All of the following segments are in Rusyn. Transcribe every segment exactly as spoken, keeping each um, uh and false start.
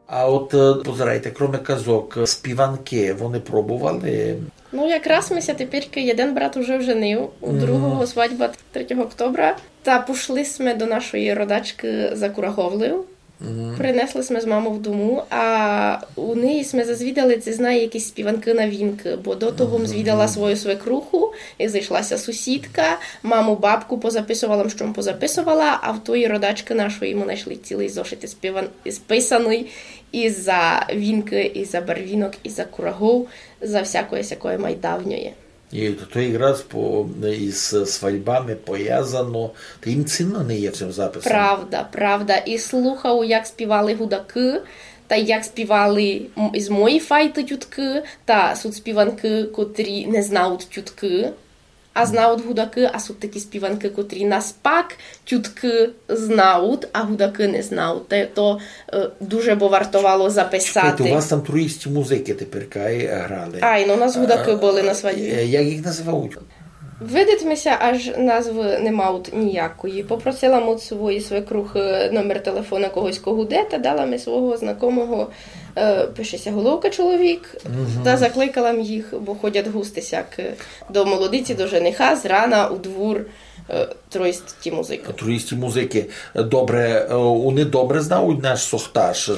А от, е, позирайте, кроме казок, е, співанкы, вони пробовали? Ну, якраз ми ся теперь, єден брат уже вженив, у другого свадьба третього октября. Та пошли сьме до нашої родачкы за Кураговлів. Принесли сьме з мамов дому, а у неї сьме зазвідали, ци знає якісь співанкы на вінкы, бо до того м звідала свою свекруху, і зайшла ся сусідка, маму, бабку позаписовала м, што м позаписовала, а в тої родачкы нашої мы найшли цілый зошит із співан-, із писаный, і за вінкы, і за барвінок, і за курагов, за всякоє сякоє майдавньоє. І то якраз по, із свадьбами повязано, та їм цінно не є цим записом. Правда, правда. І слухав, як співали гудакы, та як співали м-, із мої файты тюткы, та суть співанкы, котрі не знають тюткы, а знають гудакы, а суть такі співанкы, котрі наспак тюткы знають, а гудакы не знають. Та то, е, дуже бы вартовало записати. Чекайте, у вас там троїсті музикы теперь кай грали. Ай, ну, у нас гудакы были на свадьбі. Е, як їх называють? Видить ми ся, аж назвы не мають ніякої. Попросила м од своєї свекрухы номер телефона когось, ко гуде, та дала ми свого знакомого, е, пише ся Головка чоловік, та закликала м їх, бо ходять густи сяк, е, до молодиці, до жениха, з рана у двур, е, троїсті музикы. Троїсті музикы. Добре, е, вони добре знають наш сохташ?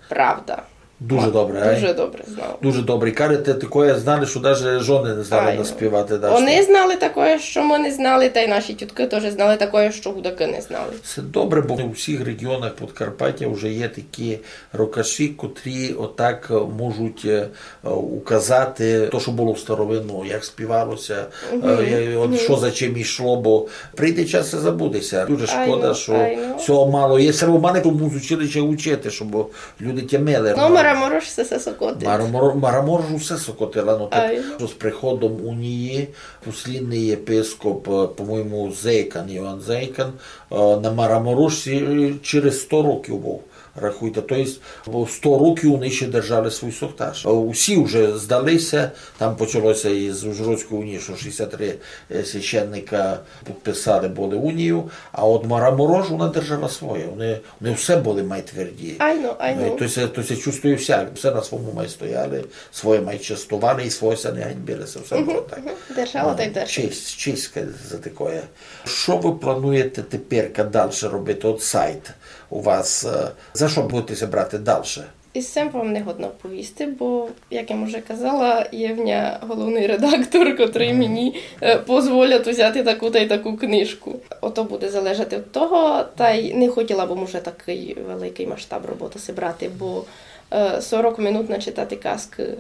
Правда. Дуже добре, ай? Дуже добре знали. Дуже добре. І кажете, такоє знали, што даже жоны не знали наспівати дашто. Они знали такоє, што мы не знали, та й наші тюткы тоже знали такоє, што гудакы не знали. Се добре, бо в усіх реґіонах Подкарпатя вже є такі рокаші, котрі отак можуть, е, указати то, што было в старовину, як співало ся, е, е, от што за чим ішло, бо прийде час, се забуде ся. Дуже шкода, што сього мало є. Се треба мало тому з училища учити, щоб люди тямили. Ну, Мараморош се, се сокотить. Мараморо-, Мараморош усе сокотила, ну так, што з приходом унії послідный єпископ, е, по-моєму, Зейкан, Йоан Зейкан, е, на Мараморошці, е, через сто років быв, рахуйте. То єсть, бо сто років они ще держали свій сохташ. Е, усі вже здали ся, там почало ся із Ужгородської унії, што шістдесят три, е, священника підписали были унію, а от Мараморош, она держала своє. Они, они все были май тверді. Айно, айно. Ну, і то ся, то ся чувствує всяк. Все на свому май стояли, своє май честовали і своє ся не ганьбили. Се все было так. Держала та й держала. Честь, честь за такоє. Што вы плануєте теперь дальше робити? От сайт у вас, е, за што будете ся брати дальше? І з сим вам не годна повісти, бо, як я м уже казала, є в ня головный редактор, котрый мені, е, позволять узяти таку та й таку книжку. Ото буде залежати од того, та й не хотіла бы м уже такый великый масштаб роботы си брати, бо, е, сорок минут начитати казкы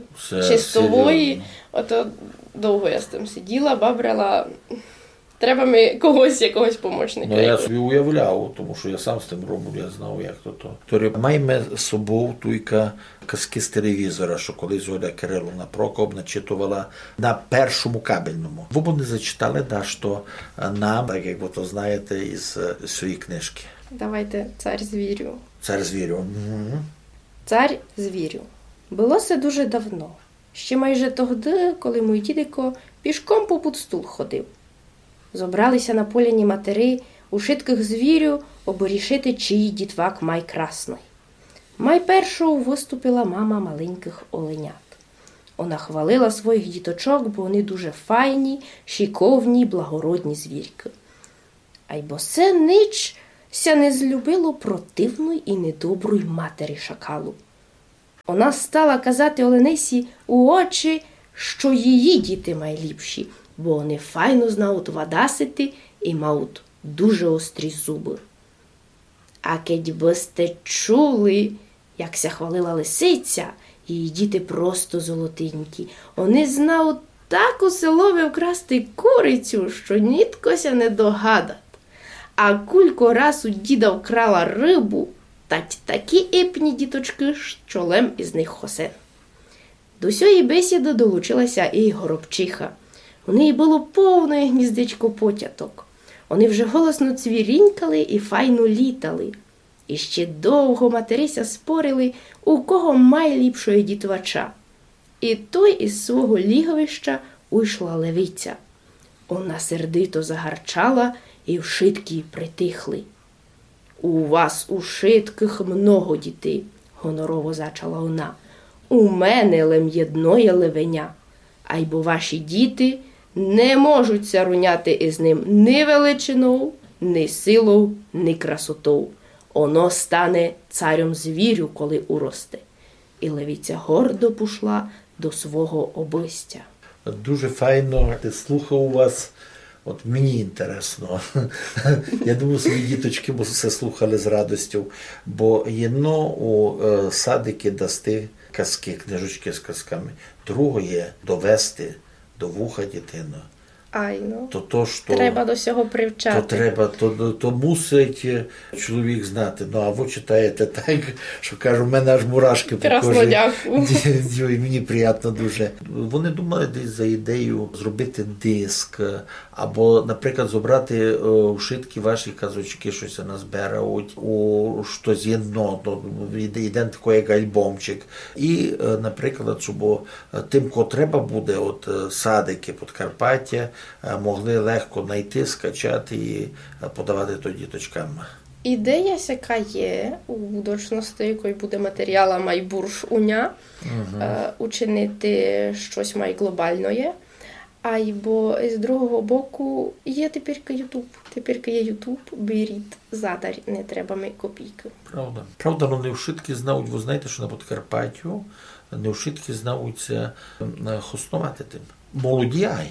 чистової, ото довго я з тым сиділа, бабрила. Треба ми когось, якогось помочника. Ну, я собі уявляв, тому што я сам з тым робив, я знав, як то то. Тори маєме з собов туйка казкы з телевізора, што колись Оля Кириловна Прокоп начитовала на першому кабельному. Вы бы не зачитали дашто нам, так як вы то знаєте, із, е, своєї книжкы. Давайте «Цар звірю». «Цар звірю». Мгм. Цар звірю. Было се дуже давно. Ще майже тогды, коли мой дідико пішком попуд стул ходив. Зобрали ся на поляні матери ушыткых звірю, обы рішити, чий дітвак май красный. Май першов выступила мама маленькых оленят. Она хвалила своїх діточок, бо они дуже файні, шиковні, благородні звіркы. Айбо се нич ся не злюбило противной і недоброй матери шакалу. Она стала казати оленисі у очі, што її діти майліпші, бо они файно знають вадасити і мають дуже острі зубы. А кедь бы сьте чули, як ся хвалила лисиця, її діти просто золотенькі. Они знають так у селови вкрасти курицю, што нітко ся не догадат. А кулько раз у діда вкрала рыбу, тать такі ипні діточкы, што лем із них хосен. До сьої бесіды долучила ся і горобчиха. У неї было повноє гніздечко потяток. Они вже голосно цвірінькали і файно літали. І ще довго матери ся спорили, у кого майліпшоє дітвача. І той із свого ліговища уйшла левиця. Она сердито загарчала, і вшыткі притихли. У вас ушыткых много дітей. гонорово зачала она, у мене лем єдноє левеня, айбо ваші діти не можуть ся руняти из ним ни величинов, ни силов, ни красотов. Оно стане царьом звірю, коли уросте. И левиця гордо пушла до свого обыстя. Дуже файно, ти слухав у вас. От мені інтересно. Я думаю, свої діточки бы все слухали з радостю, бо єдно у е, садики дасти казки, книжечки з казками, другоє довести до вуха дітину. Айно. То, то, што Треба до сього то привчати. Треба, то, то, то мусить е, чоловік знати. Ну, а вы читаєте так, што кажу, в мене аж мурашки по кожі. Красно, дякую. Ой, мені приємно дуже. Вони думали десь за ідею зробити диск, або, наприклад, зобрати е, вшыткі ваші казочки, што ся назбирають, у штось єдно, ну, єд- єден такый як альбомчик. І, е, наприклад, щоб е, тим, кого треба буде, от е, садики Подкарпаття е, могли легко найти, скачати і е, подавати то діточкам. Ідея сяка є у будучности, коли буде матеріала май бурш у ня, е, учинити штось май глобалноє. Айбо з другого боку є теперь Ютуб. Теперь є Ютуб, беріть задарь, не треба ми копійкы. Правда. Правда, но не вшыткі знають, вы знаєте, што на Подкарпаттю не вшыткі знають ся м, хосновати тим. Молоді ай.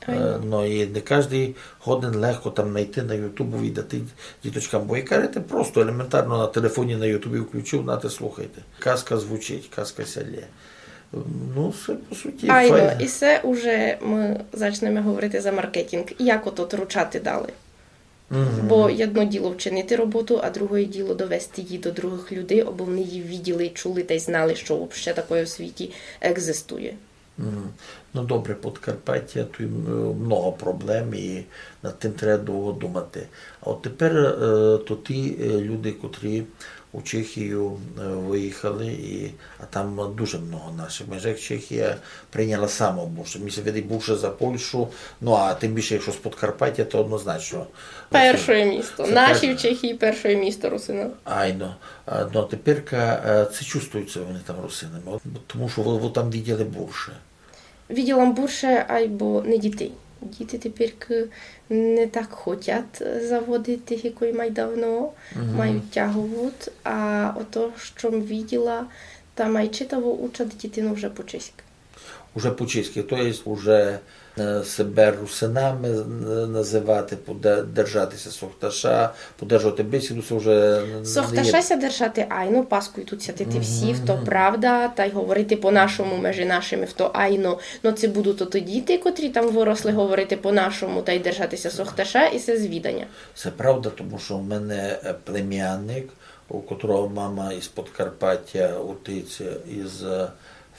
Айно. Е, но і не каждый годен легко там найти на Ютубу і дати діточкам. Бо як кажете, просто елементарно на телефоні на Ютубі включив, нате, слухайте. Казка звучить, казка ся лє. Ну, се по суті Айно, файно. І се уже мы зачнеме говорити за маркетинґ. Як ото ручати далі? Бо єдно діло вчинити роботу, а другоє діло довести її до другых людей, абы вони її виділи, чули тай знали, што вообще такоє у світі екзистує. Мгм. Ну, добре, Подкарпаття, туй м, много проблем, і над тим треба довго думати. А от тепер е, то ті е, люди, котрі у Чехію е, виїхали, і, а там дуже много наших. Майже як Чехія прийняла сама бурше. Мені ся видить бурше за Польщу, ну а тим більше, якщо з Подкарпаття, то однозначно. Перше місто. Наші в Чехії перше місто русинів. Айно. А, ну, а теперка е, це чувствується, вони там русинами. От, тому що ви, ви там виділи бурше. Виділа м бурше, айбо не дітей. Діти теперь не так хотять заводити, як май давно, мають тяговут, а ото, што м виділа, та май читаво учать дітину вже по-чеськы. Уже по-чеськы, то єсть уже е, себе русинами е, називати, поде- держати ся сохташа, подержувати бесіду, се вже не є. Сохташа ся держати, айно, паскують ся тыти всі, то правда, тай говорити по-нашому межи нашыми, то айно. Но ци будуть то діти, котрі там выросли, говорити по-нашому, тай держати ся сохташа, і се звіданя. Се правда, тому што в мене е, племянник, у котрого мама із Подкарпаття, отець із е,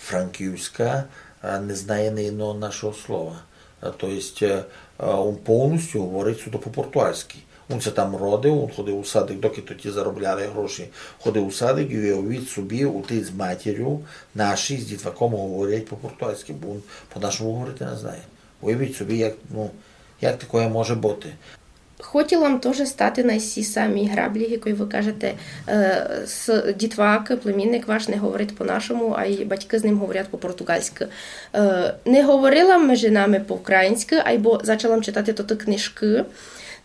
Франківська, а не знає ні одного нашого слова. А, то єсть, е, е, он повністю говорить суто по-португальськи. Он ся там родив, он ходив у садик, доки тоті заробляли гроші, ходив у садик і уявіть собі, отець з матір'ю наші з дітваком говорять по-португальськи, бо он по-нашому говорити не знає. Уявіть собі, як, ну, як такоє може бути. Хотіла м тоже стати на сі самі граблі, як вы кажете, е, с-, дітвак, племінник ваш не говорить по-нашому, а й батькы з ним говорять по-португальськы. Е, не говорила м межи нами по-українськы, айбо зачала м читати тоты книжкы.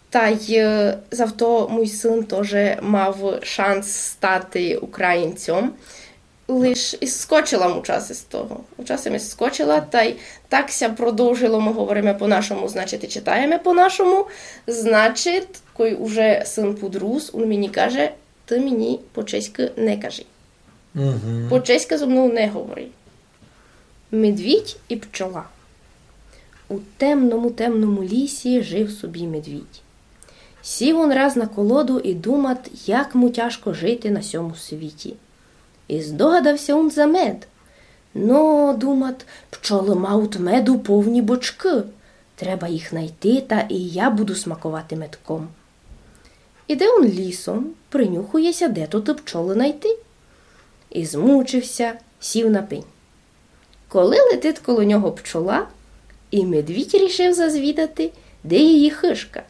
Тай е, завто муй сын тоже мав шанс стати українцьом. Лиш і скочила м у часі з того. У часі м скочила, тай так ся продовжило, мы говориме по-нашому, значить, і читаєме по-нашому. Значить, кой уже сын пудрус, он мені каже: «Ты мені по-чеськы не кажи. По-чеськы зо мнов не говори». Медвідь і пчола. У темному-темному лісі жив собі медвідь. Сів он раз на колоду і думат, як му тяжко жити на сьому світі. І здогадав ся он за мед. Но, думат, пчолы мають меду повні бочкы. Треба їх найти, та і я буду смаковати медком. Іде он лісом, принюхує ся, де то ты пчолы найти. І змучив ся, сів на пень. Коли летить коло нього пчола, і медвідь рішив зазвідати, де її хыжка.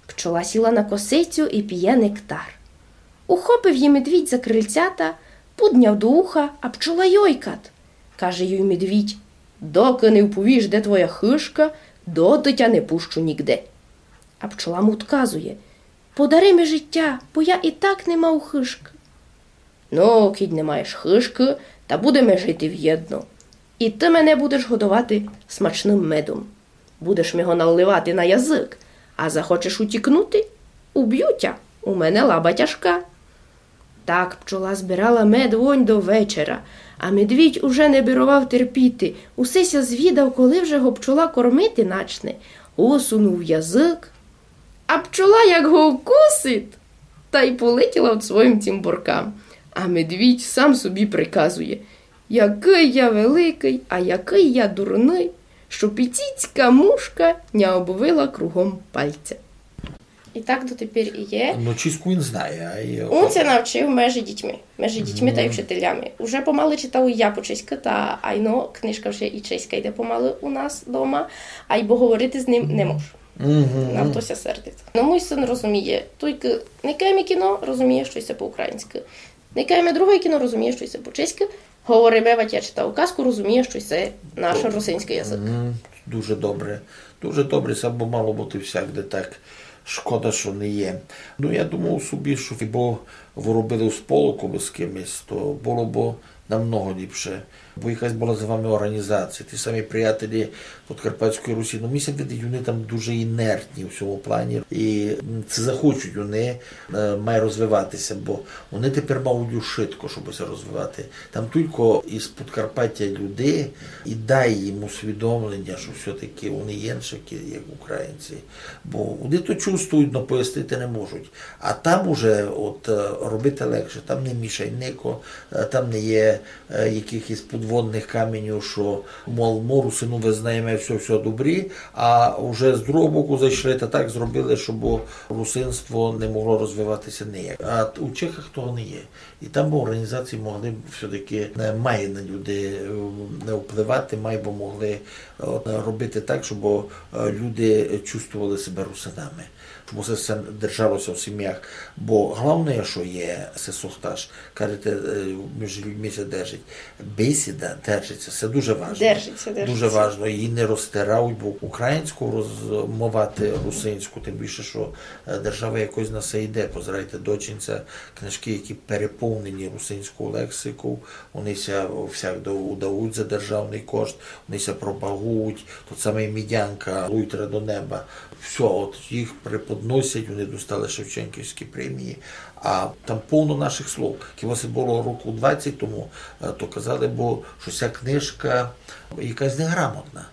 Пчола сіла на косицю і піє нектар. Ухопив її медвідь за крильцята, пудняв до уха, а пчола йойкат. Каже їй медвідь: «Докы не вповіш, де твоя хыжка, доты тя не пущу нігде». А пчола му одказує: «Подари ми життя, бо я і так не мав хыжкы». «Ну, кідь не маєш хыжкы, та будеме жити вєдно. І ты мене будеш годовати смачным медом. Будеш ми го наливати на язык, а захочеш утікнути — убю тя, у мене лаба тяжка». Так пчола збирала мед вонь до вечера, а медвідь уже не бировав терпіти, усе ся звідав, коли вже го пчола кормити начне. Усунув язык, а пчола як го вкусить, та й полетіла од своїм цімборкам. А медвідь сам собі приказує: «Якый я великый, а якый я дурный, што піціцька мушка ня обвила кругом пальця». І так дотепер і є. Ну, чеську він знає, а й... Ун ся навчив межи дітьми, межи дітьми та й вчителями. Уже помалы читав і я по чеськы, та айно книжка вже і чеська йде помалы у нас дома, айбо говорити з ним не можу. Нам то ся сердить. Но муй сын розуміє, тілько никаєме кіно, розуміє, што йсе по-українськы. Никаєме другоє кіно, розуміє, што йсе по-чеськы. Говориме, вать я читав казку, розуміє, што йсе наш русинськый язык. Дуже добре. Дуже добре, се бы мало быти всякде так. Шкода, што не є. Ну, я думав собі, што якбы вы робили у сполоку бы з кимось, то было бы намного ліпше. Бо якась была з вами орґанізація, ті самі приятелі Подкарпатської Русі. Ну, ми ся видить, они там дуже інертні у сьому плані. І, м, ци захочуть они, е, май розвивати ся, бо они тепер мають ушытко, штобы ся розвивати. Там тілько із Подкарпатя люди, і дай їм усвідомлення, што всьо-таки они іншакі, як українці. Бо они то чувствують, но пояснити не можуть. А там уже от, е, робити легше, там не мішай нико, е, там не є, е, якыхось подводных каменів, што, мол, мы русины, визнаєме, всьо, всьо добрі, а вже з другого боку зайшли та так зробили, щоб русинство не могло розвивати ся ніяк. А т-, у Чехах того не є. І там бы орґанізації могли б всьо-таки, е, май на люди, е, не впливати, май бы могли, е, робити так, щоб, е, люди чувствовали себе русинами. Щоб усе се держало ся в сім'ях. Бо головне, што є, се сохташ, кажете, е, між людьми ся держить. Бесіда держить ся, се дуже важно. Держить ся, держить Дуже ся. Важно, її не розтирають, бо українську розмовати русинську, тим більше, што, е, держава якось на се йде. Позирайте, дочинця, книжкы, які переповнені русинською лексикою, они ся всяк до-, удають за державный кошт, они ся пропагують, тот самый Мідянка, Луйтра до неба. Всьо, от їх преподносять, они достали Шевченківські премії, а там повно наших слов. Хіба се было року двадцять тому, е, то казали, бо што ся книжка якась неграмотна.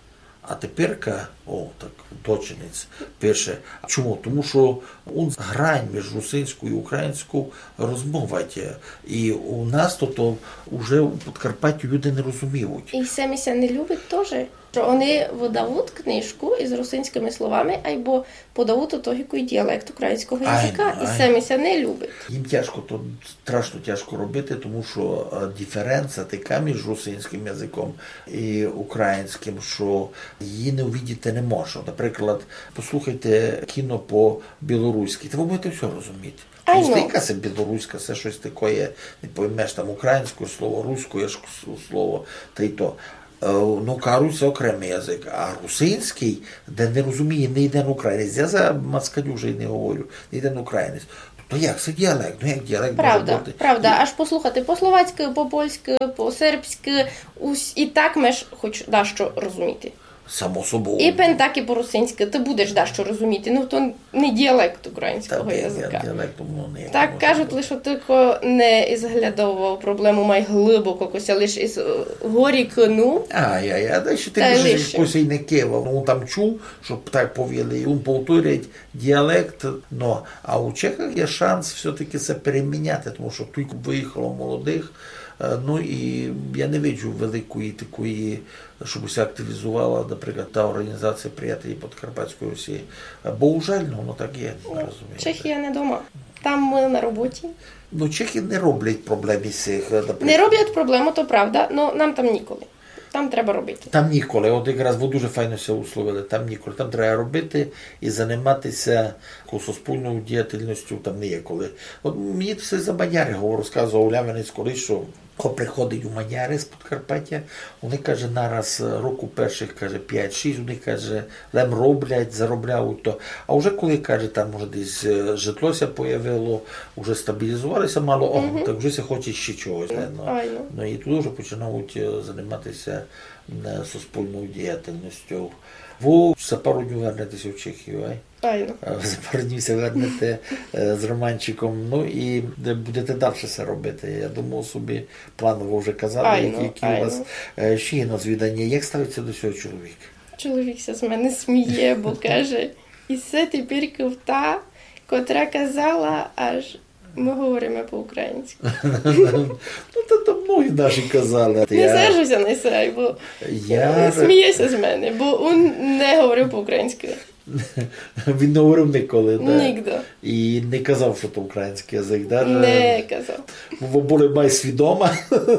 А теперка, о, так, дочинець пише. Чому? Тому што он грань між русинською і українською розмовать. І у нас то, то уже у Подкарпатті люди не розуміють. І се ми ся не любить тоже, што они выдавуть книжку із русинськыми словами, айбо подавуть у того якый діалект українського языка. І се ми ся не любить. Їм тяжко, то страшно тяжко робити, тому што, е, диференца така між русинськым языком і українськым, што її не увидіти не можна. Наприклад, послухайте кіно по-білоруськи, та вы будете всьо розуміти. Айно. Містика се білоруська, се штось такоє, не поймеш, там українськоє слово, руськоє ж с-, слово, та й то. Е, ну, кажуть, се окремый язык, а русинськый, де не розуміє ні єден українець. Я за москалів уже й не говорю, ні єден українець. То як, се діалект, ну як діалект може Правда, быти? правда. Аж послухати по-словацькы, по-польськы, по-сербськы, ус-, і так меш хоч дашто розуміти. Само собою. І пен так і по-русинськы, ты будеш дашто розуміти. Ну, то не діалект українського Та, ні, языка. Діалект, ну, не Так кажуть, лише тілько не із глядового проблему май глибоко, кося лиш із, е, горі кину. А, я, я, да, ще Та й тим більше, лише. Хтось і не кивав, ну, там чув, щоб так повіли, і він повторить діалект, ну, а у Чехах є шанс все-таки се переміняти, тому що тут виїхало молодих, е, ну, і я не виджу великої такої, щоб ся активізувала, наприклад, та організація «Приятелі Подкарпатської Русі». Е, бо, жаль, ну, воно так є, розумієте. Чехія не дома. Там мы на роботі. Ну, чехи не роблять проблем із цих, е, наприклад. Не роблять проблему, то правда, но нам там ніколи. Там треба робити. Там ніколи, от якраз вы дуже файно ся условили, там ніколи. Там треба робити і занимати ся якоюсь суспільною діятельністю, там не є коли. От мені се за Мадяри говорю, розказував Лявинець колись, што ко приходить у Мадяри з Подкарпатя, они, каже, нараз року першых, каже, пять-шість, они, каже, лем роблять, заробляють то. А вже коли, каже, там, може, десь е, житло ся появило, вже стабілізували ся мало, о, так вже ся хоче ще чогось. Ну, айно. Ну і туды вже починають е, занимати ся е, суспільною діятельністю. Вы за пару днів вернете ся в Чехію, ай? Айно. Е, За пару днів ся вернете е, з Романчиком, ну і е, будете дальше се робити. Я думав собі, планово вже казали, Айно, які, які у вас айно. е, ще є на звідані. Як ставить ся до сього чоловік? Чоловік ся з мене сміє, бо каже: «І се тепер та, котра казала, аж мы говориме по-українськы». Ну, то, то многі наші казали. Не сержу ся на се, бо я сміє ся з мене, бо він не говорив по-українськы. Він не говорив ніколи, да? Нігде. І не казав, што то українськый язык, да? Не казав. Бо были май свідома,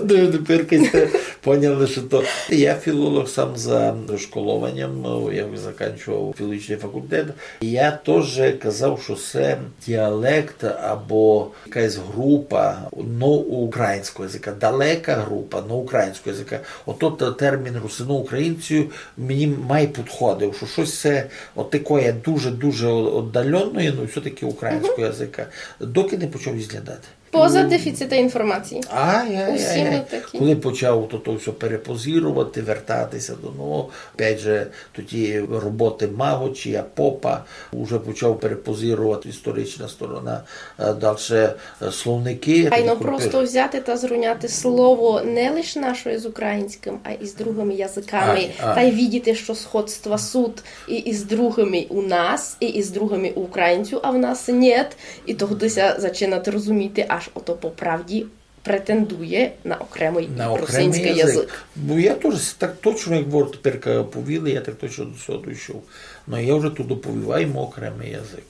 тепер сьте поняли, што то. Я філолог сам за школованням, я закінчував філологічный факультет. Я тоже казав, што се діалект або якась група, но українського языка, далека група, но українського языка. Ото те-, термін русино-українців мені май підходив, што штось се от такоє дуже-дуже оддалённоє, но всьо-таки українського языка. Доки не почав изглядати. Поза дефіцитом інформації. Ай, ай, ай, ай. Усі мы такі. Коли почав то, то всьо перепозировати, вертати ся до нового, опять же, тоді роботы Маґочія, Попа, уже почав перепозировати історична сторона, е, дальше, е, словникы. Айно, просто взяти та зруняти слово не лиш нашоє з українськым, а і з другыми языками. Ай, ай. Тай видіти, што сходства суть і, і з другыми у нас, і, і з другыми у українців, а в нас нєт. І тогды ся зачинати розуміти, аж ото по правді претендує на окремый русинськый язык. Бо я тоже с-, так точно, як вы теперь повіли, я так точно до сього дійшов. Но я вже туды повів, ай мы окремый язык,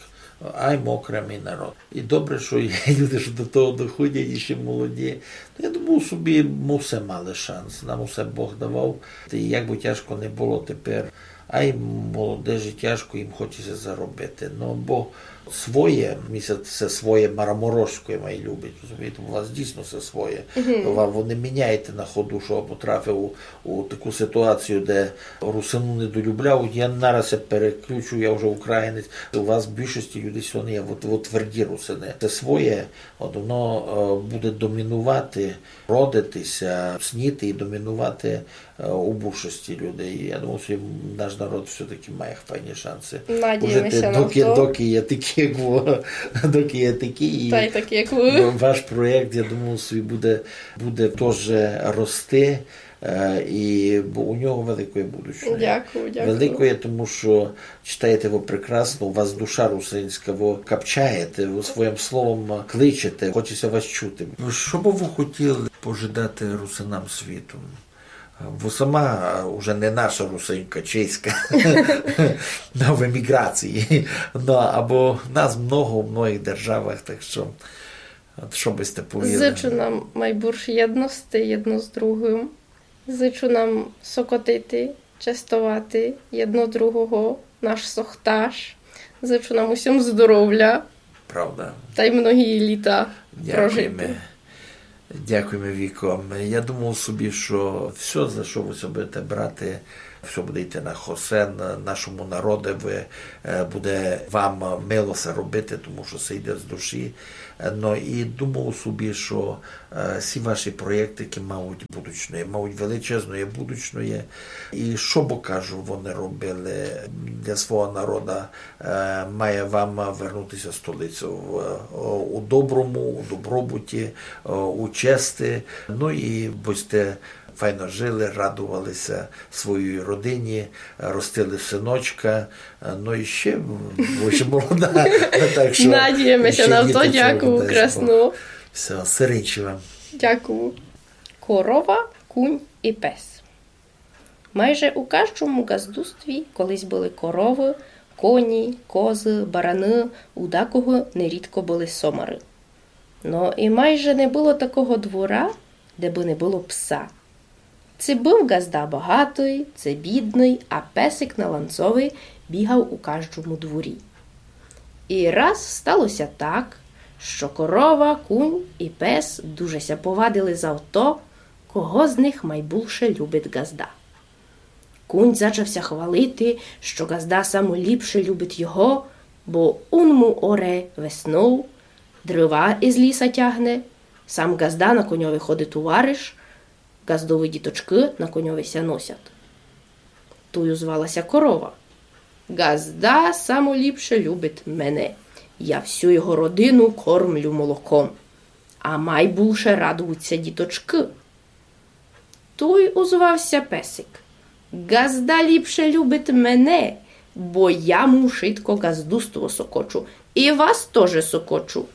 ай мы окремый народ. І добре, што є люди, што до того доходять, і ще молоді. Но я думав собі, мы все мали шанс, нам усе Бог давав. І як бы тяжко не было теперь, ай молодежі тяжко, їм хоче ся заробити. Но бо своє, ми ся се своє мараморожськоє май любить, розумієте, у вас дійсно се своє. Ва-, вы не міняєте на ходу, што потрапив у, у таку ситуацію, де русину не долюбляють. Я нараз ся переключу, я вже українець. У вас в більшості людей сьогодні є от, от тверді русины. Се своє, от воно е, буде домінувати, родити ся, сніти і домінувати е, у більшості людей. Я думаю, што наш народ все-таки має файні шанси. Надієме ся на то. Доки є такі, як вы, доки є такі, і ваш проєкт, я думаю, собі буде, буде тоже рости. Е, і бо у нього великоє будущее. Дякую, дякую. Великоє, тому што читаєте вы прекрасно, у вас душа русинська, вы капчаєте, вы своїм словом кличете, хоче ся вас чути. Што бы вы хотіли пожадати русинам світу? Вы сама, е, уже не наша русинка, чеська, но в еміграції. Но, або нас много в многых державах, так што, от што бы сьте повіли? Зичу нам май бульш єдности єдно з другым. Зичу нам сокотити, честовати єдно другого, наш сохташ. Зичу нам усім здоровля. Правда. Тай многі літа прожити. Дякуєме. Дякуєме, Віко. Я думав собі, што всьо, за што вы ся будете брати, всьо буде йти на хосен, нашому народови, е, буде вам мило се робити, тому што се йде з душі. Е, но і думав собі, што е, всі ваші проєкты, які мають будучноє, мають величезноє будучноє. І што бы, кажу, вони робили для свого народа, е, має вам вернути ся столиця в, е, у доброму, у добробуті, е, у чести. Ну і бы сьте файно жили, радовали ся своїй родині, ростили синочка. Е, ну і ще, бо ще молода. Так што надієме ся на то. Дякую, красно. Всьо, сиренчі вам. Дякую. Корова, кунь і пес. Майже у каждому ґаздустві колись были коровы, коні, козы, бараны, у дакого нерідко были сомары. Но і майже не было такого двора, де бы не было пса. Ци быв ґазда богатый, ци бідный, а песик на ланцови бігав у каждому дворі. І раз стало ся так, што корова, кунь і пес дуже ся повадили за то, кого з них майбулше любить ґазда. Кунь зачав ся хвалити, што ґазда само ліпше любить його, бо ун му оре веснов, дрыва из ліса тягне, сам ґазда на коньови ходить у вариш, ґаздовы діточкы на коньови ся носять. Туй узвала ся корова: «Ґазда само ліпше любить мене. Я всю його родину кормлю молоком. А майбулше радують ся діточкы». Туй узвав ся песик: «Ґазда ліпше любить мене, бо я му шытко ґаздуство сокочу, і вас тоже сокочу».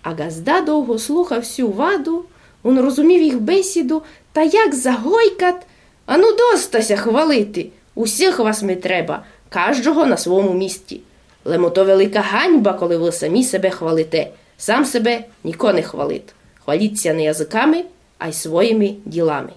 А ґазда довго слухав сю ваду, ун розумів їх бесіду, та як загойкат: «Ану, доста ся хвалити, усіх вас ми треба, каждого на свому місті. Лем ото велика ганьба, коли вы самі себе хвалите, сам себе ніко не хвалит. Хваліт ся не языками, ай своїми ділами».